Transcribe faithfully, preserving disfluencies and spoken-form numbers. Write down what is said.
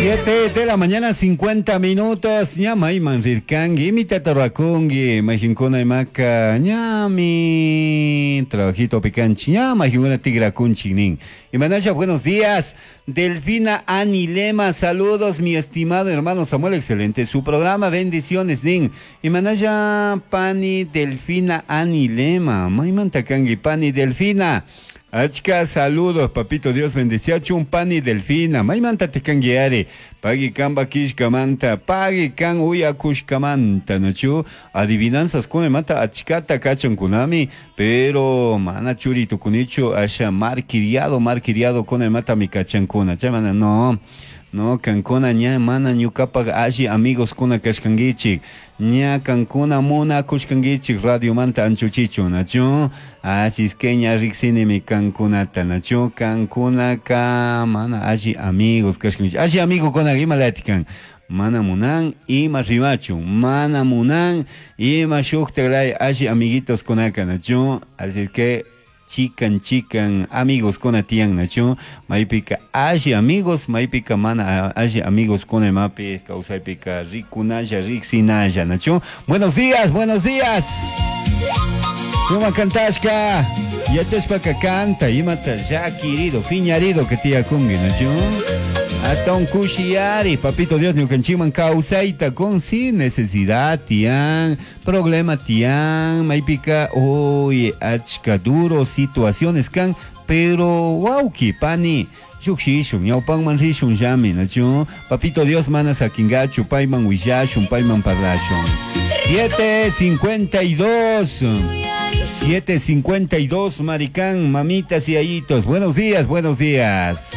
Siete de la mañana, cincuenta minutos. Ña mayman rirkanki, imitata rurakunki, mayqinkuna imaka ñami trabajito pikanchik, ña mayqinkuna tikrakunchik nin. Imanasha, buenos días. Delfina Anilema, saludos, mi estimado hermano Samuel, excelente su programa, bendiciones, nin. Imanasha, pani Delfina Anilema, maymanta kanki, pani Delfina. Achka saludos, papito Dios bendeciachun pani Delfina, maymanta tikanguiari, pagui kan bakishkamanta, pagui kan uyakushkamanta, nachu, adivinanzas mata achkata kachankunami, pero mana churi tukunichu, asha marquiriado, marquiriado mata mi kachankuna, chamana no. No, kankuna ña mana ñukapak alli amigos kuna kashkankichik ña kankuna munakushkankichik radiomanta anchuchichu nachu así es que ña riksinimi kankunata nachu kankunaka mana alli amigos kashkankichik alli amigokuna imalati kan mana munan ima rimachu mana munan ima shuktak alli amiguitos kunaka nachu así es que chikan chikan amigos kuna tiyan nachu maypika alli amigos maypika mana alli amigos kuna imapi kawsaypika rikunalla riksinalla nachu buenos días, buenos días. Suma kantashka yachashpaka kanta imata llakirido piñarido que tiyakunki nachu hasta un kushiyari papito Dios ñukanchikman kawsayta con sin necesidad tiyan problema tiyan maypika uy achka duro situaciones kan pero wawki pani llukshishun ñawpanman rishun llami nachu papito Dios mana sakingachu payman willashun payman parlashun. Siete cincuenta y dos, siete cincuenta y dos, maricán, mamitas y ayitos. Buenos días, buenos días.